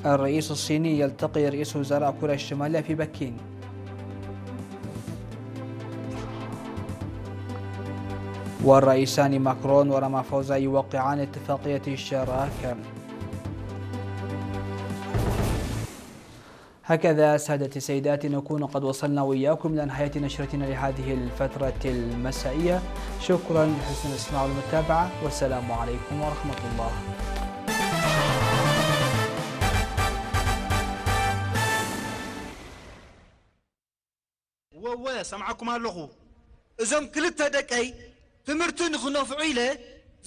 الرئيس الصيني يلتقي رئيس وزراء كوريا الشمالية في بكين. والرئيسان ماكرون ورامافوزا يوقعان اتفاقية الشراكة. هكذا سادتي سيداتي نكون قد وصلنا وإياكم إلى نهاية نشرتنا لهذه الفترة المسائية. شكرا لحسن الاستماع والمتابعة، والسلام عليكم ورحمة الله. ወወ ሰምዓኩም ኣለኹ። እዞም ክልተ ደቀይ ትምህርቲ ንኽነፍዑ ኢለ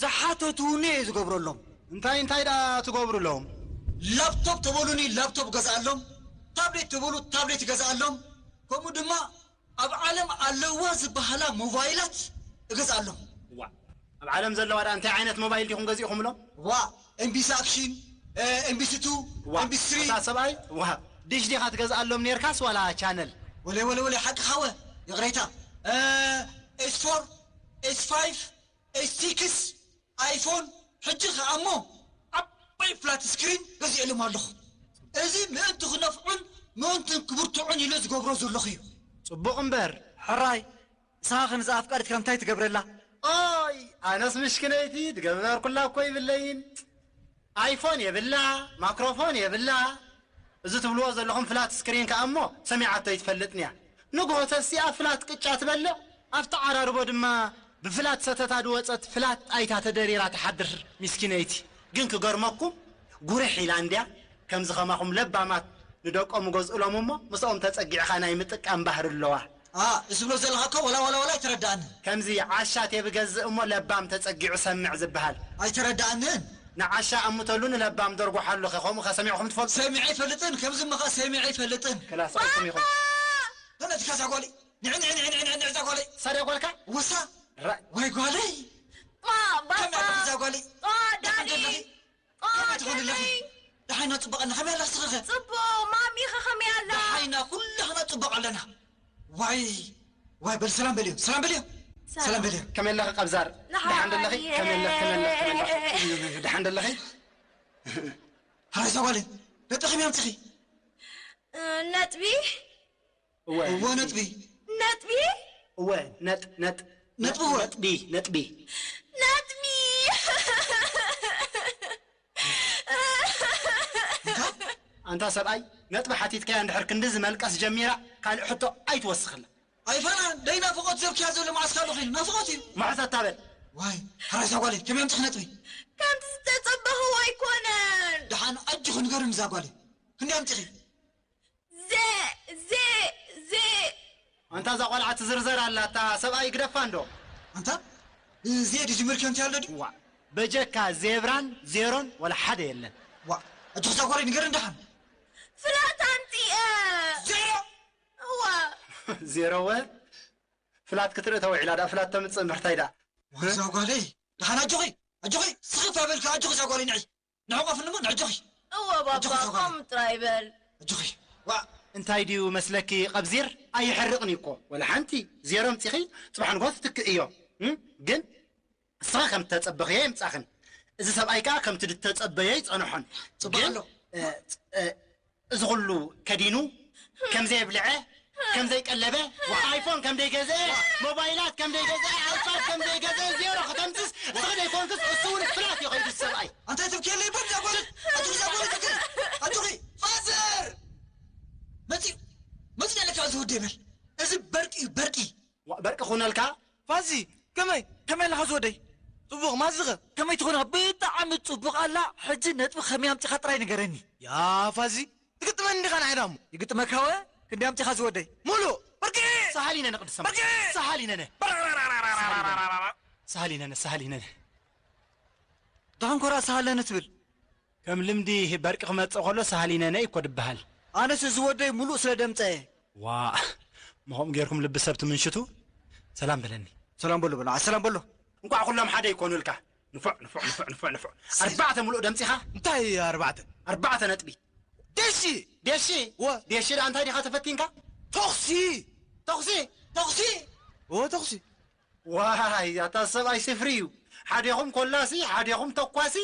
ዝሓተቱኒ እየ ዝገብረሎም። እንታይ እንታይ ደኣ ትገብሩሎም? ላፕቶፕ ተበሉኒ ላፕቶፕ እገዝኣሎም፣ ታብሌት ተበሉ ታብሌት እገዝኣሎም፣ ከምኡ ድማ ኣብ ዓለም ኣለዋ ዝበሃላ ሞባይላት እገዝኣሎም። ዋ ኣብ ዓለም ዘለዋ ደኣ እንታይ ዓይነት ሞባይል ዲኹም ገዚእኹምሎም? ዋ ኤምቢሲ ኣክሽን፣ ኤምቢሲ ቱ፣ ዋ ኤምቢሲ ስሪ። እታ ሰብኣይ ዋ ዲሽ ዲኻ ትገዝኣሎም ኔርካስ ዋላ ቻነል? ወለ ወለ ወለ ሓቅኻ ወ ይቕሬታ። ኤስ ፎር፣ ኤስ ፋይቭ፣ ኤስ ሲክስ፣ ኣይፎን፣ ሕጂ ኸኣ እሞ ዓባይ ፍላት ስክሪን ገዚኤሎም ኣለኹ። እዚ ምእንቲ ክነፍዑን ምእንቲ ክብርትዑን ኢለ ዝገብሮ ዘለኹ እዩ። ጽቡቕ እምበር። ሕራይ ንስኻ ኸ ንዛ ኣፍቃሪትካ እንታይ ትገብረላ? ኦይ ኣነስ ምሽክነይቲ ድገብረርኩላ እኮ ይብለይን። ኣይፎን የብላ፣ ማክሮፎን የብላ። እዚ ትብልዎ ዘለኹም ፍላት ስክሪን ከኣ እሞ ሰሚዓቶ ኣይትፈልጥን እያ። ንግሆ ተሲኣ ፍላት ቅጫ ትበልዕ፣ ኣብቲ ዓራርቦ ድማ ብፍላት ሰተታ ዝወጸት ፍላት ጣይታ ተደሪራ ትሓድር ሚስኪነይቲ። ግን ክገርመኩም ጉርሕ ኢላ እንድያ። ከምዚ ኸማኹም ለባማት ንደቆም ይገዝኡሎም እሞ ምስኦም ተጸጊዕኻ ናይ ምጥቃም ባህሪ ኣለዋ። ኣ፣ እዚ ትብሎ ዘለኻ እኮ ወላ ወላ ወላ ኣይተረድኣንን። ከምዚ ዓሻ ቴብ ገዝእ እሞ ለባም ተጸጊዑ ሰምዕ ዝበሃል። ኣይተረድኣንን። ንዓሻ ኣምተሉ ንለባም ደርጉሓሉ ኸ ከምኡ ኸ ሰሚዕኹም ትፈልጡ? ሰሚዐ ኣይፈልጥን። ከምዚ እሞ ኸኣ ሰሚዐ ኣይፈልጥን። ክላስ ኣይኩም ኢኹም። ተነትካ እዛ ጓለይ። ንዕ ንዕ ንዕ ንዕ ንዕ እዛ ጓለይ። ሳድያ ጓልካ? ወሳ። ራ- ወይ ጓለይ። ባ- ባባ። ከመይ ኣለኺ እዛ ጓለይ? ባ- ደሓን ዳኒ። ዶ ኣለኺ? ባ- ከመይ ትኾኒ ኣለኺ? ዳኒ። ደሓና ጽቡቕ ኣለና። ከመይ ኣለኺ ስኺ ኸ? ጽቡቕ። ማሚ ኸ ከመይ ኣላ? ደሓና ኩላህና ጽቡቕ ኣለና። ዋይ ዋይ በል ሰላም በልዮ። ሰላም በልዮ። ሰላም። ሰላም በልዮ። ከመይ ኣለኺ ቀብዛር? ደሓን። ደሓን ዶ ኣለኺ? ከመይ ኣለኺ? ከመይ ኣለኺ? ከመይ ኣለኺ? ደሓን ዶ ኣለኺ? ሃይ እዛ ጓለይ። ነጥኺ ከመይ ኣምጺኺ? ነጥቢ? እወ። እወ ነጥቢ። ነጥቢ? እወ ነጥ ነጥ ነጥቢ እወ። ነጥቢ ነጥቢ። ነጥቢ። ኣንታ ሰብኣይ ነጥቢ ሓቲትካያ እንድሕር ክንድዚ መልቀስ ጀሚራ ካልእ ሕቶ ኣይትወስኽላ። ኣይፈርሃን ደይ ናፍቖት ዘብክያ ዘሎ መዓስ ካሉ ኺን ናፍቖት እዩ። መዓስ ኣታበል። ዋይ ሓራይ እዛ ጓለይ ከመይ ኣምፅኽ ነጥቢ። ከምቲ ዝተፀበኽዎ ኣይኮነን። ደሓን ኣጆኺ ንገርኒ እዛ ጓለይ ክንደይ ኣምፂኺ። ዜ ዜ ዜ ኣንታ እዛ ቆልዓ ትዝርዘር ኣላ፣ እታ ሰብኣይ ግደፋ እንዶ። ኣንታ ዜ ድዩ ዝምልከንቲ ኣሎ ድዩ? ዋእ፣ በጀካ ዜብራን ዜሮን ወላ ሓደ የለን። ዋእ፣ ኣጆኺ እዛ ጓለይ ንገርኒ ደሓን። ፍላት ኣምጺኤ። ዜሮ? እዋ። ዜሮ ወ ፍላት ክትርኢ ተውዒላ፣ ደኣ ፍላት ተምጽእ እምበር ታይ ደኣ። ዋእ፣ እዛ ጓለይ ደሓን ኣጆኺ፣ ኣጆኺ ስኽፍ ኣይበልካ፣ ኣጆኺ እዛ ጓለይ ንዒ። ንዕቆፍኒ እሞ ንዕጆኺ። እወ ባባ፣ ኣጆኺ እዛ ጓለይ። ከምኡ ጥራይ በል። ኣጆኺ። ዋእ፣ እንታይ ድዩ መስለኪ ቀብዚር? ኣይሕርቕን እዩ እኮ። ወላ ሓንቲ ዜሮ ኣምጺኺ ጽባሕ ንግሆ ትትክእ እዮ። እም? ግን ንስኺ ከም እተጸበኽዮ ኣይምጻኽን። እዚ ሰብኣይ ከኣ ከምቲ ዝተጸበዮ ኣይጸንሖን። ጽቡቕ ግን፣ ኣሎ። እ፣ እ፣ እዚ ኩሉ ከዲኑ ከም ዘየብልዐ፣ ከም ዘይቀለበ፣ ኣይፎን ከም ዘይገዝአ፣ ሞባይላት ከም ዘይገዝአ፣ ኣይፓድ ከም ዘይገዝአ፣ ዜሮ ከተምጽስ ንስኺ ዘይኮንክስ እሱ እውን ፍላት እዩ ከይዱ ሰብኣይ። ኣንታ ትብክየለይ በል እዛ ጓል፣ ኣጆኺ እዛ ጓል ትብክየለይ። ኣጆኺ። ፋዘር! መጺኡ፣ መጺኡ ኣለካ እዚ ወደይ በል። እዚ በርቂ እዩ፣ በርቂ። ዋ፣ በርቂ ክኾነልካ? ፋዚ፣ ከመይ፣ ከመይ ኣለኻ ዝወደይ? ጽቡቕ፣ ማዝኸ ከመይ ትኾን? ብጣዕሚ ጽቡቕ ኣላ። ሕጂ ነጥቢ ከመይ ኣምጺኻ ጥራይ ንገረኒ። ያ ፋዚ፣ ትግጥመኒ ዲኻ ንዓይ ዳሞ? ይግጥመካ ወ? ክንደይ ኣምጺኻ ዝወደይ? ሙሉእ፣ በርቂ! ሰሃሊነነ ቅዱስ ሰማይ። በርቂ! ሰሃሊነነ። በርቂ! ሰሃሊነነ፣ ሰሃሊነነ። ደሓን ኮራ ሰሃለነ ትብል። ከም ልምዲ በርቂ ክመጽእ ከሎ ሰሃሊነነ እኮ ድበሃል። ኣነስ እዚ ወደይ ሙሉእ ስለ ደምጸ እየ። ዋእ፣ ምኸም ጌርኩም ልቢ ሰብ ትምንሽቱ። ሰላም በለኒ። ሰላም በሎ፣ በሎ፣ ሰላም በሎ። እንቋዕ ኩሎም ሓደ ይኮኑልካ። ንፉዕ፣ ንፉዕ፣ ንፉዕ፣ ንፉዕ፣ ንፉዕ። ኣርባዕተ ሙሉእ ደምጺኻ። እንታይ ኣርባዕተ? ኣርባዕተ ነጥቢ። ደሺ! ደሺ? ወ- ደሺ ደኣ እንታይ ዲኻ ተፈቲንካ? ተኹሲ! ተኹሲ! ተኹሲ! ኦ፣ ተኹሲ። ዋይ፣ ኣታ ሰብኣይ ስፍሪ እዩ። ሓዴኹም ኮላሲ፣ ሓዴኹም ተኳሲ፣